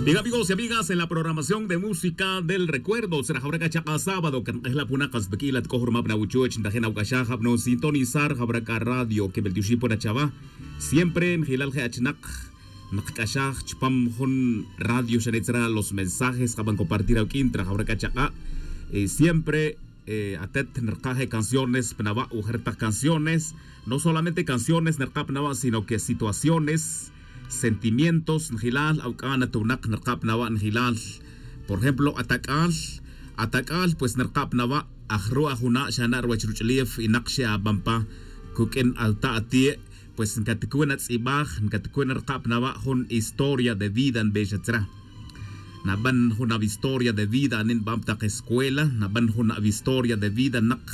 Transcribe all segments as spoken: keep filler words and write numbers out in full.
Bien, amigos y amigas, en la programación de música del recuerdo tzra jawra c'a chak'a' sábado can k'ejla' puna kas bik'ila' tk'o jurma pna wuchuch ntajin awc'axaj abnon sintonizar jawra c'a radio que beltioxi puna chawa. Siempre njilal je' achinak nkc'axaj chupam jun radio xane' tzra los mensajes kaban compartir awq'uin tra jawra c'a chak'a'. Siempre atet nrka' je' canciones pnawa' ujer tak canciones. No solamente canciones nrka' pnawa' sino que situaciones, sentimientos njilal awc'an atunak nrka' pnawa' njilal. Por ejemplo atac'al, atac'al pues nrka' pnawa' ajru' ajuna' xana' ruwech ruch'ulef inak xe'aban pa cuq'uin alta' atie'. Pues ncatcuin atz'ibaj ncatcuin arka' pnawa' jun historia de vida nbexa tzra. Naban jun avistoria de vida anin nban pa tak escuela naban jun avistoria de vida nak.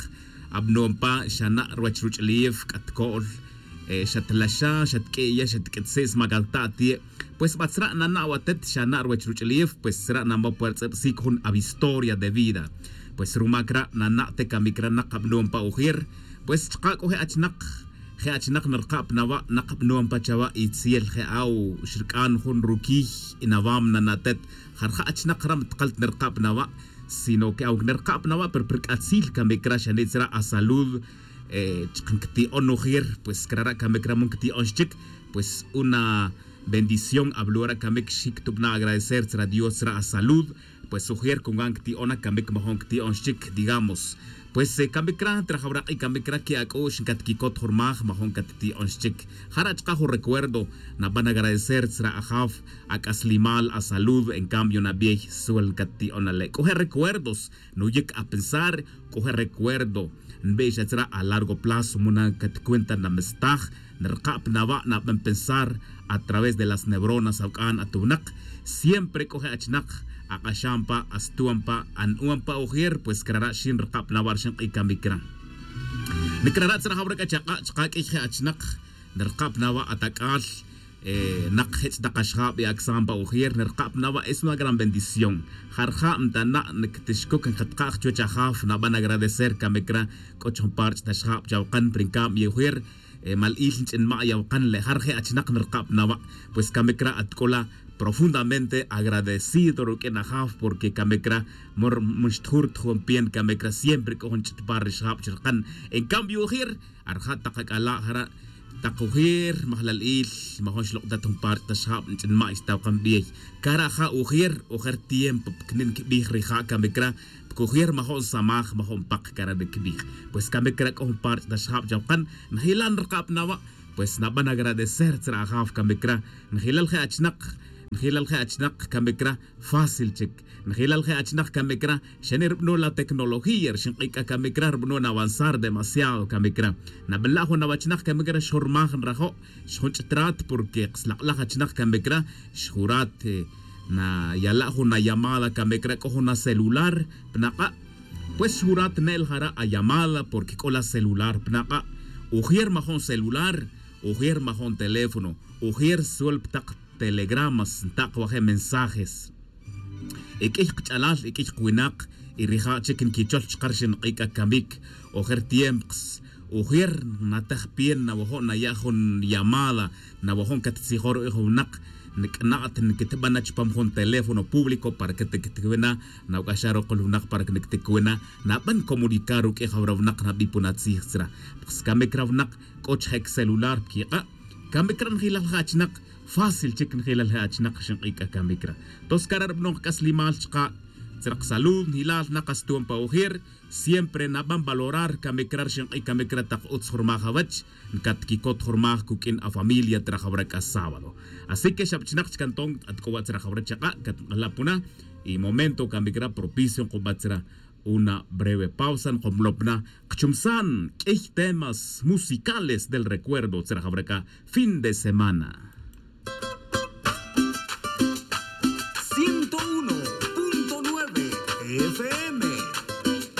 Abnon pa xana' ruwech ruch'ulef c'a tco'l, xatlaxa xatq'ueya xatq'uetsi' smac alta' atie'. Pues batzra' nana' watet xana' ruwech ruch'ulef pues tzra' namo puertz'ibsic jun avistoria de vida. Pues rumac ra' nana' te camic ra' nak abnon pa ujer. Pues chka' c'o je' achinak je' achinak nrka' pnawa' nak bnuan pa chawa' itziel je' aw xrc'an jun ruquiy. Y nawam nanatet jarja' achinak ra' mtkal nrka' pnawa'. Sino que aunque nrka' pnawa' pero prc'atzil camic ra' xanitz ra' asalud. Chka ncti'on ujer pues crara' camic ra' mo ncti'on xchic. Pues una bendición ablura' camic xictubna' agradecer tzra dios tzra asalud. Pues ujer cungan cti'on acamic majon cti'on xchic digamos. Pues camic ra' trajawra k'i camic ra' que ac'u'x ncatquicot jurmaj majon catti'on xchic. Jara' chka' jun recuerdo naban agradecer tzra ajaf ac'aslimal asalud en cambio nabiey suel ncatti'on ale' c'o je' recuerdos nuyic apensar. C'o je' recuerdo nbe'xa tzra a largo plazo muna catcuenta namestaj. Nrka' pnawa' naban pensar a través de las neuronas awc'an atunak. Siempre c'o je' achinak ak'axan pa astuan pa an'uan pa ujer pues crara' xin nrka' pnawa' rxin k'i camic ra'. Nicrara' tzra jawra c'a chak'a' chka' q'uiy je' achinak nrka' pnawa' atac'al. Nak jech' tak axjab y acsam pa ujer nrka' pnawa' es una gran bendición. Jarja' ntana' nctixcuc nkatka' chuwech ajaf naban agradecer camic ra'. C'o chujun parch' taxjab chawkan pero en cambio ujer mali'il nch'inma' yawkan le' jar je' achinak nrka' pnawa'. Pues camic ra' atc'ula' profundamente agradecido ruq'uin ajaf porque camic ra' mor mo xtjur tjun pien camic ra' siempre c'o jun ch'it par rixjab chirkan. En cambio ujer arja' tak ac'ala' jara' tak ujer majlal il majon xlok'tat jun parch' taxjab nch'inma' xtawkan bey. Cara' ja' ujer ujer tiempo pcnin cbij rija' camic ra' pcujir majo'n samaj majo'n pak cara' nicbij. Pues camic ra' c'o jun parch' taxjab chawkan. Njilan rkab nawa'. Pues naban agradecer tzra ajaf camic ra'. Njilal je' achinak njilal je' achinak camic ra'. Fácil chic njilal je' achinak camic ra'. Xani' rbno la tecnología rxin k'i c'a camic ra' rbno navanzar demasiado camic ra'. Nabala' jun awachinak camic ra' xjurmaj nrajo' xjun ch'trat porque slak'laj achinak camic ra' xjurat nayala' jun allamada camic ra' c'o jun acelular. Pnak'a' pues xjurat ne'el jara' allamada porque c'o la celular pnak'a'. Ujer majo'n celular ujer majo'n teléfono ujer suel ptak telegramas ntak' waje' mensajes. Y q'uiy kch'alal y q'uiy kwinak y rija' chic nquichol chka rxin k'i c'a camic. Ojer tiempo ujer natej pien nawajo' naya' jun llamada nawajo' ncattzijon ru'ij jun winak. Nc'na'at nquitban na chupam jun teléfono público para que tiquitcwi na. Nawc'axaj rukul winak para que niquitcwi na naban comunicar ruq'uij awra winak nabi pun atzij tzra. Pues camic ra winak c'o chje' celular pquik'a'. Camic ra njilal je' achinak. Fácil chic njilal je' achinak rxin k'i c'a camic ra. Tos cara' rbanon kac'aslimal chka' tzra ksalud njilal na kastuon pa ojer. Siempre naban valorar camic ra rxin k'i camic ra tak utz jurmaj awech. Ncatquicot jurmaj cuq'uin afamilia tzra jawra c'a sábado. Así que xabchinak chca nton at c'o wa' tzra jawra chaka' cat nk'ala' puna. Y momento camic ra propicio nkuba tzra una breve pausa nkumlop na. Kchumsan q'uiy temas musicales del recuerdo tzra jawra c'a fin de semana.